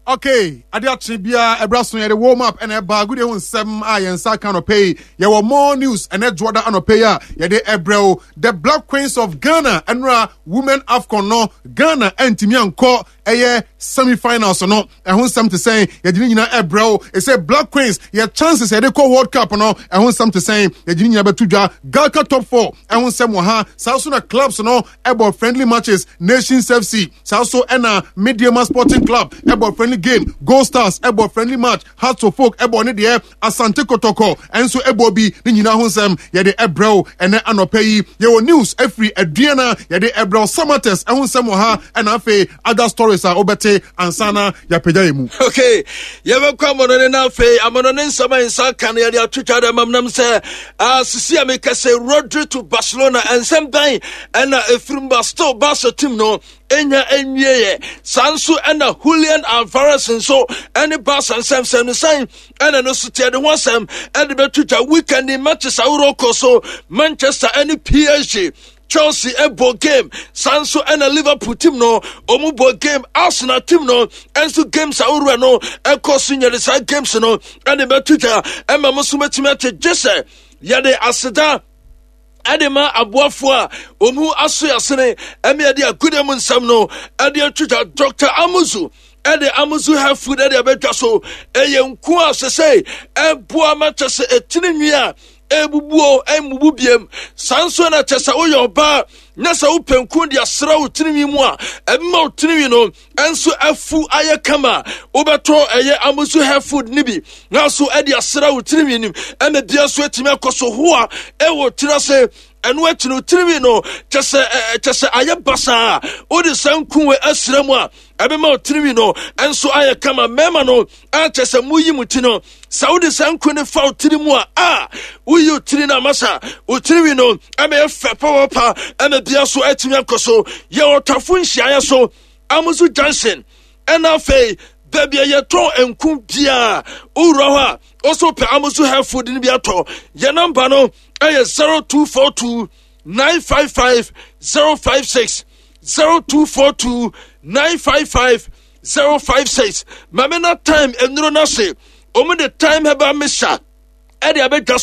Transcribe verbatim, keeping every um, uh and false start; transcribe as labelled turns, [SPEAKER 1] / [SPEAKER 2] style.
[SPEAKER 1] Okay, ade akye biara ɛbra so, yɛde warm up ɛna ɛba agudie ho nsɛm a yɛn nsa ka anɔpɛ yi. Yɛwɔ more news ɛnɛ dwoɔda anɔpɛ yi a yɛde ɛbrɛ o. The Black Queens of Ghana, ɛnora Women AFCON no, Ghana ɛntumi ankɔ ɛyɛ semi-finals no. Ɛho nsɛm te sɛn? Yɛde ne nyinaa ɛbrɛ o. Ɛsɛ Black Queens yɛ chances yɛde kɔ World Cup no, ɛho nsɛm te sɛn? Yɛde ne nyinaa bɛto dwa. GHALCA Top Four ɛho nsɛm wɔ ha. Saa so na clubs no ɛbɔ friendly matches, Nations F C, saa so ɛna Medeama Sporting Club ɛbɔ friendly game, Gold Stars ɛbɔ friendly match, Hearts of Oak ɛbɔ ne deɛ, Asante Kotoko ɛnso ɛbɔ bi. Ne nyinaa ho nsɛm yɛde ɛbrɛ o ɛnɛ anɔpɛ yi. Yɛwɔ news ɛfiri Aduana, yɛde ɛbrɛ o. Samartex ɛho nsɛm wɔ ha, ɛna afei other stories a wobɛte ansa na yɛapagya yɛ mu.
[SPEAKER 2] Okay, yɛbɛkɔ amɔnɔne no. Afei amɔnɔne nsɛm a nsa ka no, yɛde atwitwa dɛ mam nam sɛ sisi a meka sɛ Rodri to Barcelona, ɛnsɛm bɛn ɛna ɛfirim ba? Still Barca team no ɛnya ɛnwieɛ. Saa nso ɛna Julian Alvarez nso ɛne Barca nsɛmsɛm no sɛn ɛna no so teɛ de ho asɛm ɛde bɛto twa. Weekend matches ahorow kɔ so, Manchester ɛne P S G, Chelsea ɛbɔ game, saa nso ɛna Liverpool team no ɔmu bɔ game, Arsenal team no ɛnso games ahorow no ɛkɔ so. Nyɛde saa games no ɛde bɛto twa ɛma mo nso bɛtumi ate gye sɛ yɛde aseda ɛde ma aboafoɔ a ɔmu aso yasene ɛme yɛde agude mu nsɛm no ɛde atwitwa. Doctor Amuzu ɛde Amuzu Health Food ɛde abɛdwa so. Ɛyɛ nku a sɛsɛ ɛboa ma kyɛ sɛ ɛtiri nwi a ebubuo ɛmbubu biem. Saa nso na kyɛ sɛ woyɛ ɔbaa na sɛ wopɛ nku de asra wo tirinwi mu a ɛbɛma wo tirinwi no ɛnso afu ayɛ kama, wobɛtɔ ɛyɛ Amuzu Health Food ne bi na so ɛde asra wo tirinwi nim, ɛna bia nso atumi akɔ so hoa ɛwɔ tiri ase. Ɛno akyi no, tirinwi no kyɛ sɛ kyɛ sɛ ayɛ basaa, wode saa nku wɔ asra mu a, ɛbɛma wo tirinwi no ɛnso ayɛ kama. Mmarima no akyɛ sɛ muyi mu ti no, sɛ wode saa nku no fa wo tiri mu a a woyi wo tiri no amasa, wo tirinwi no ɛbɛyɛ fɛ pɔpɔpa, ɛna bia so atumi akɔ so. Yɛ ɔtafo nhyiaeɛ so, Amuzu Junction, ɛna afei baabi a yɛtɔn nku biara, wowura hɔ a ɔso pɛ Amuzu Health Food no bi atɔ. Yɛ number no ɛyɛ zero two four two nine five five zero five six, zero two four two nine five five zero five six. Maame na time nnuro no ase, ɔmu de Time Herbal Mixture ɛde abɛdwa.